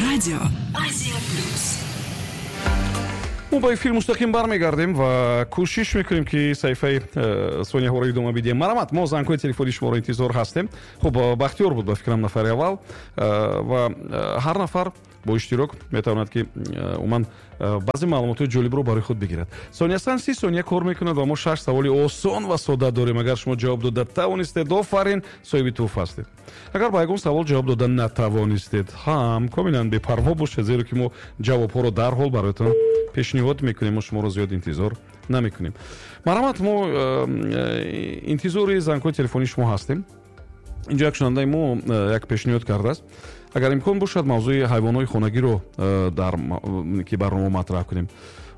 Радио Азия Плюс. Мо ба эфир мустақим бармегардем ва кӯшиш мекунем, ки саҳифаи сонияҳоро идома бидиҳем. Марҳамат, мо зангҳои телефони шуморо интизор ҳастем. Хуб, Бахтиёр буд, ба фикрам, нафари аввал, ва ҳар нафар бо иштирок метавонад, ки умуман баъзе маълумотҳои ҷолибро барои худ бигирад. Сониясан 30 сония кор мекунад ва мо шаш саволи осон ва сода дорем. Агар шумо ҷавоб дода тавонистед, офарин, соҳиби тӯҳфа ҳастед. Агар ба ягон савол ҷавоб дода натавонистед ҳам, комилан бепарво бошед, зеро ки мо ҷавобҳоро дарҳол бароятон пешниҳод мекунем. Мо шуморо зиёд интизор намекунем. Марҳамат, мо интизори зангҳои телефонии шумо ҳастем. Инҷо як шунавандаи мо як пешниҳод кардааст: агар имкон бошад, мавзӯи ҳайвонҳои хонагиро дар ки барнома матраҳ кунем.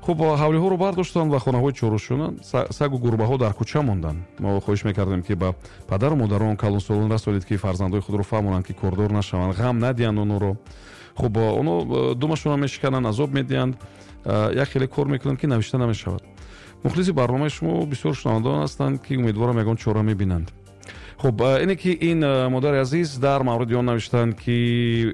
Хуб, ҳавлиҳоро бардоштанд ва хонаҳои чорушона, сагу гурбаҳо дар кӯча монданд. Мо хоҳиш мекардем, ки ба падару модарон, калонсолон расонед, ки фарзандои худро фаҳмонанд, ки кордор нашаванд, ғам надиҳанд онҳоро. Хуб, онҳо думашонро мешикананд, азоб медиҳанд, як хеле кор мекунанд, ки навишта намешавад. Мухлиси барномаи шумо бисёр шунавандагон ҳастанд, ки умедворам, ягон чора мебинанд. Хуб, ине ки ин модари азиз дар мавриди он навиштанд, ки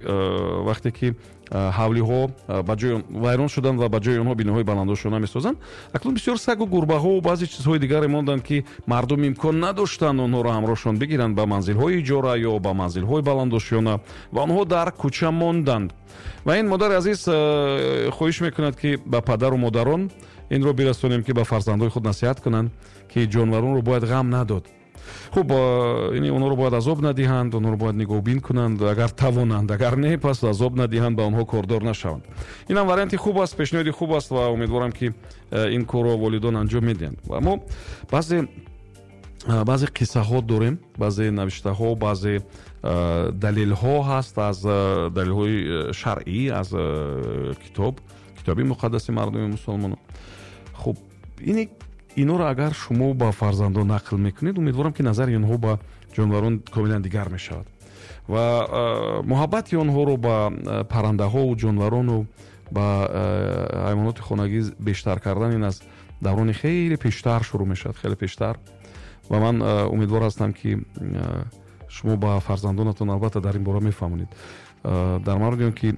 вақте ки ҳавлиҳо ба ҷои вайрон шуданд ва ба ҷои онҳо биноҳои баландошёна месозанд, акнун бисёр сагу гурбаҳову баъзе чизҳои дигаре монданд, ки мардум имкон надоштанд онҳоро ҳамроҳшон бигиранд ба манзилҳои иҷора ё ба манзилҳои баландошёна ва онҳо дар кӯча монданд. Ва ин модари азиз хоҳиш мекунад, ки ба падару модарон инро бирасонем, ки ба фарзандои худ насиҳат кунанд, ки ҷонваронро бояд ғам надод. Хуб, ини онҳоро бояд азоб надиҳанд, онҳоро бояд нигоҳубин кунанд, агар тавонанд, агар не, пас азоб надиҳанд, ба онҳо кордор нашаванд. Инам варианти хуб аст, пешниҳоди хуб аст ва умедворам, ки ин корро волидон анҷом медиҳанд. Ва мо баъзе қиссаҳо дорем, баъзе навиштаҳо, баъзе далелҳо ҳаст, аз далелҳои шаръӣ, аз китоби муқаддаси мардуми мусулмонон. Хуб, ини инҳоро агар шумо ба фарзандон нақл мекунед, умедворам, ки назари онҳо ба ҷонварон комилан дигар мешавад ва муҳаббати онҳоро ба паррандаҳову ҷонварону ба ҳайвоноти хонагӣ бештар кардан ин аз даврони хеле пештар шурӯъ мешавад, хеле пештар. Ва ман умедвор ҳастам, ки шумо ба фарзандонатон албатта дар ин бора мефаҳмонед, дар мавриди он ки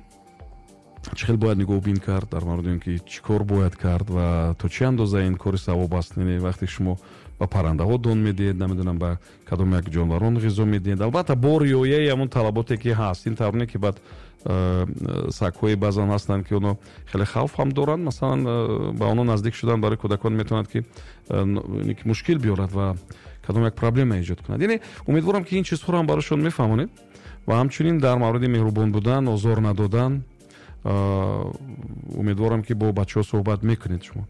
чӣ хел бояд нигоҳубин кард, дар мавриди он ки чӣ кор бояд кард ва то чӣ андоза ин кори савоб аст. Вақте шумо ба паррандаҳо дон медиҳед, намедонам, ба кадом як ҷонварон ғизо медиҳед, албатта бо риояи ҳамон талаботе ки ҳаст. Ин тавр не, ки баъд сагҳои баъзан ҳастанд, ки онҳо хеле хавф ҳам доранд. Масалан, ба онҳо наздик шудан барои кӯдакон метавонад, ки мушкил биёрад ва кадом як проблема эҷод кунад. Яъне умедворам, ки ин чизҳоро ҳам барояшон мефаҳмонед ва ҳамчунин дар мавриди меҳрубон будан, озор надодан. Умедворам, ки бо бачаҳо суҳбат мекунед шумо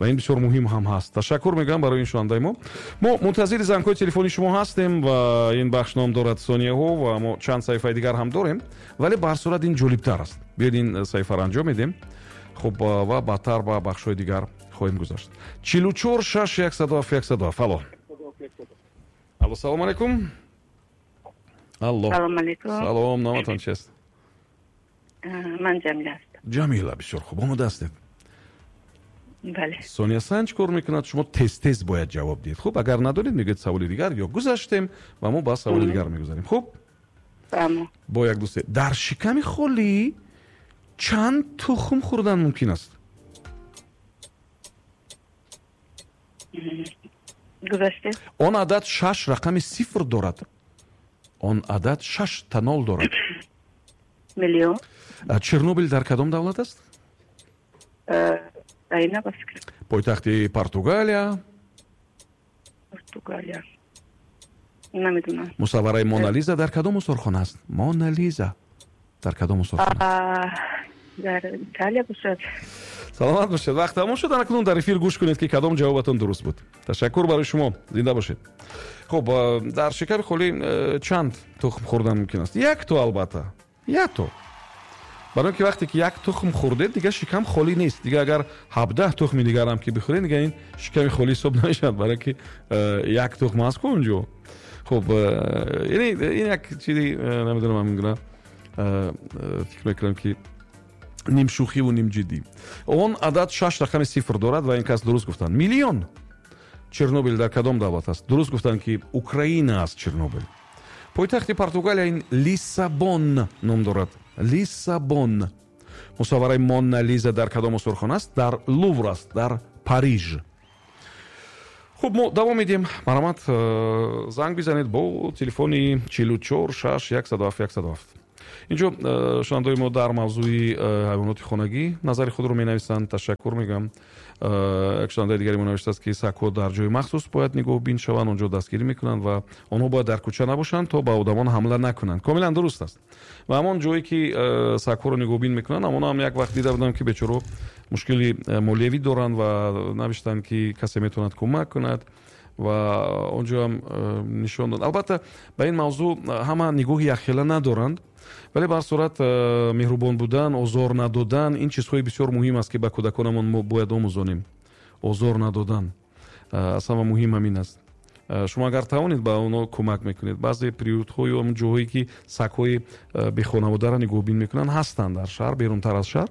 ва ин бисёр муҳим ҳам ҳаст. Ташаккур мегӯям барои ин шунавандаи мо. Мо мунтазири зангҳои телефони шумо ҳастем ва ин бахш ном дорад «Сонияҳо» ва мо чанд саҳифаи дигар ҳам дорем, вале ба ҳар сурат ин ҷолибтар аст. Биёед, ин саҳифаро анҷом медиҳем, хуб, ва баъдтар ба бахшҳои дигар хоҳем гузашт. 44 6 107 107. Алло, алло, салому алайкум, алло. Салом алейкум. Салом, номатон чист? Ман Ҷамила ҳастам. Ҷамила, бисёр хуб, омода ҳастед? Бале. Сония Санҷ кор мекунад, шумо тез тез бояд ҷавоб диҳед. Хуб, агар надонед, мегӯед саволи дигар ё гузаштем ва мо ба саволи дигар мегузарем. Хуб, бо як дӯсте. Дар шиками холӣ чанд тухм хӯрдан мумкин аст? Гузаште. Он адад шаш рақами сифр дорад, он адад шаш та нол дорад. Миллион. Чернобил дар кадом давлат аст? Айна, ба фикр. Пойтахти Португалия? Португалия, намедонам. Мусаввараи Монализа дар кадом осорхона аст? Монализа дар кадом осорхона? Дар Италия бошад. Саломат бошед, вақт тамом шуд. Акнун дар эфир гӯш кунед, ки кадом ҷавобатон дуруст буд. Ташаккур барои шумо, зинда бошед. Хуб, дар шиками холӣ чанд тухм хӯрдан мумкин аст? Як то, албатта, як то, барои ки вақте ки як тухм хӯрдед, дигар шикам холӣ нест. Дигар агар 17 тухми дигарам ки бихӯред, дигар ин шиками холӣ ҳисоб намешавад, барои ки як тухм аст ку онҷо. Хуб, ин як чизи, намедонам, ҳамин гуна фикр мекунам, ки нимшӯхиву нимҷиддӣ. Он адад шаш рақами сифр дорад ва ин кас дуруст гуфтанд: миллион. Чернобил дар кадом давлат аст? Дуруст гуфтанд, ки Украина аст Чернобил. Пойтахти Португалия ин Лиссабон ном дорад. Лиссабон. Мусаввараи Мона Лиза дар кадом осорхона аст? Дар Лувр аст, дар Париж. Хуб, мо давом медиҳем. Марҳамат, занг бизанед бо телефони 44 6 107 107. Инҷо шунавандаои мо дар мавзӯи ҳайвоноти хонагӣ назари худро менависанд. Ташаккур мегӯям. Як шунавандаи дигари мо навиштааст, ки сагҳо дар ҷои махсус бояд нигоҳбин шаванд, он ҷо дастгирӣ мекунанд ва онҳо бояд дар кӯча набошанд, то ба одамон ҳамла накунанд. Комилан дуруст аст. Ва ҳамон ҷое ки сагҳоро нигоҳбин мекунанд, ҳамон ҳам як вақт дида будам, ки бечораҳо мушкили молиявӣ доранд ва навиштанд, ки касе метавонад кӯмак кунад ва он ҷо ҳам нишон дод. Албатта, ба ин мавзӯъ ҳама нигоҳи якхела надоранд, вале ба ҳар сурат меҳрубон будан, озор надодан, ин чизҳои бисёр муҳим аст, ки ба кӯдаконамон мо бояд омӯзонем. Озор надодан аз ҳама муҳим ҳамин аст. Шумо агар тавонед, ба онҳо кӯмак мекунед. Баъзе приютҳо ё ҳамон ҷоҳое ки сагҳои бехонаводаро нигоҳбин мекунанд, ҳастанд дар шаҳр, берунтар аз шаҳр.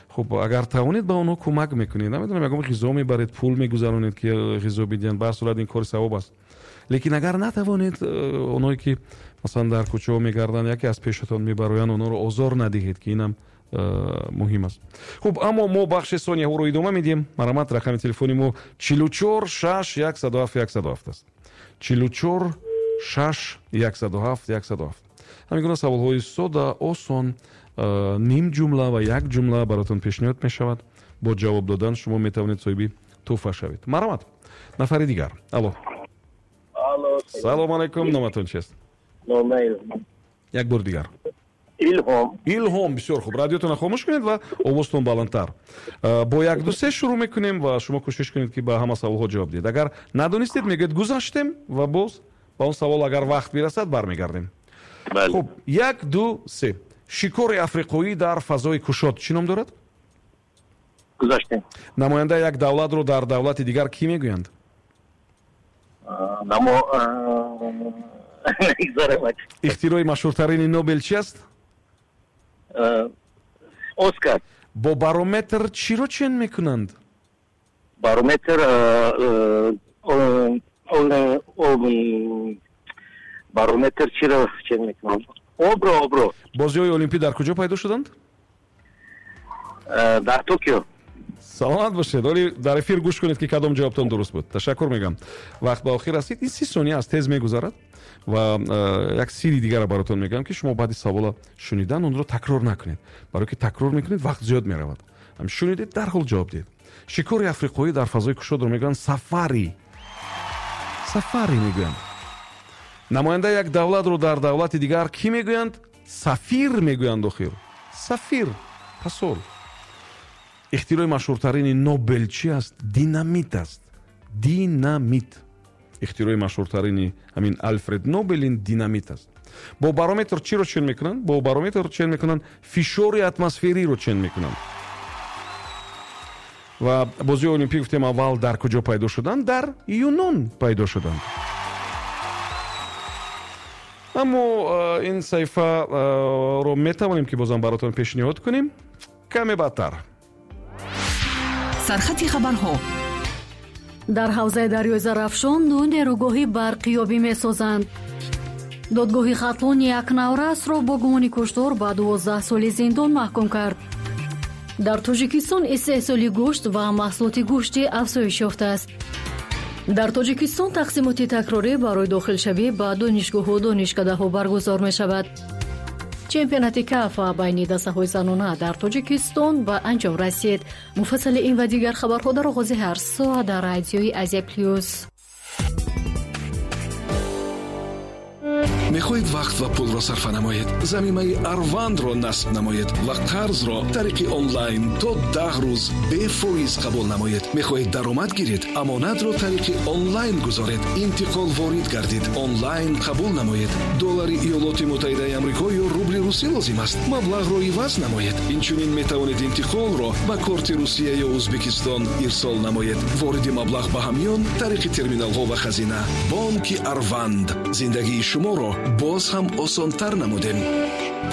Хуб, агар тавонед, ба онҳо кӯмак мекунед. Намедонам, ягон ғизо мебаред, пул мегузаронед, ки ғизо бидиҳанд. Ба ҳар сурат ин кори савоб аст. Лекин агар натавонед, онҳое ки масалан дар кӯчаҳо мегарданд, яке аз пешатон мебароянд, онҳоро озор надиҳед, ки инам муҳим аст. Хуб, аммо мо бахши сонияҳоро идома медиҳем. Марҳамат, рақами телефони мо 44 6 107 107 аст. 44 6 107 107. Ҳамин гуна саволҳои сода, осон, ним ҷумла ва як ҷумла баротон пешниҳод мешавад. Бо ҷавоб додан шумо метавонед соҳиби тӯҳфа шавед. Марҳамат, нафари дигар. Алло. Салом алайкум, номатон чист? Як бор дигар. Илҳом. Илҳом, бисёр хуб. Радиотонро хомӯш кунед ва овозтон баландтар. Бо як ду се шурӯъ мекунем ва шумо кӯшиш кунед, ки ба ҳама саволҳо ҷавоб диҳед. Агар надонистед, мегӯед гузаштем ва боз ба он савол, агар вақт бирасад, бармегардем. Хуб, як, ду, се. Шикори африқоӣ дар фазои кушод чӣ ном дорад? Гузаштем. Намояндаи як давлатро дар давлати дигар кӣ мегӯянд? Ихтирои машҳуртарини Нобел чи аст? Оскар. Бо барометр чиро чен мекунанд? Барометр барометр чиро чен мекунанд? Обро, обро. Бозиҳои Олимпӣ дар куҷо пайдо шуданд? Дар Токио. Саломат бошед. Оли дар эфир гӯш кунед, ки кадом ҷавобтон дуруст буд. Ташаккур мегӯям. Вақт ба охир расид. Ин 30 сония аст, тез мегузарад ва як сирри дигарро баротон мегӯям, ки шумо баъди савола шунидан онро такрор накунед. Барое ки такрор мекунед, вақт зиёд меравад. Ҳам шунидед, дарҳол ҷавоб диҳед. Шикори африқоӣ дар фазои кушодро мегӯянд сафари. Сафари мегӯянд. Намояндаи як давлатро дар давлати дигар кӣ мегӯянд? Сафир мегӯянд охир. Сафир, посол. Ихтирои машҳуртарини Нобел чи аст? Динамит аст. Динамит. Ихтирои машҳуртарини ҳамин Алфред Нобел ин динамит аст. Бо барометр чиро чен мекунанд? Бо барометр чен мекунанд фишори атмосфериро чен мекунанд. Ва бозиҳои Олимпӣ гуфтем аввал дар куҷо пайдо шуданд? Дар Юнон пайдо шуданд. Аммо ин саҳифаро метавонем, ки бозам баротон пешниҳод кунем каме баъдтар. Сархати хабарҳо. Дар ҳавзаи дарёи Зарафшон ду нерӯгоҳи барқиёбӣ месозанд. Додгоҳи Хатлон як наврасро бо гумони куштор ба 12 соли зиндон маҳкум кард. Дар Тоҷикистон истеҳсоли гӯшт ва маҳсулоти гӯштӣ афзоиш ёфтааст. Дар Тоҷикистон тақсимоти такрорӣ барои дохилшавӣ ба донишгоҳу донишкадаҳо баргузор мешавад. Чемпионати КАФА байни дастаҳои занона дар Тоҷикистон ба анҷом расид. Муфассали ин ва дигар хабарҳо дар оғози ҳар соат дар радиои Азия Плюс. Мехоҳед вақт ва пулро сарфа намоед? Замимаи Арвандро насб намоед ва қарзро тариқи онлайн то 10 рӯз бефоиз қабул намоед. Мехоҳед даромад гиред? Амонатро тариқи онлайн гузоред. Интиқол ворид гардид. Онлайн қабул намоед. Доллари Иёлоти Муттаҳидаи Амрико ё рубли русӣ лозим аст? Маблағро иваз намоед. Инчунин метавонед интиқолро ба корти Русия ё Ӯзбекистон ирсол намоед. Вориди маблағ ба ҳамён тариқи терминалҳо ва хазина. Бонки Арванд. Зиндагии шуморо боз ҳам осонтар намудем.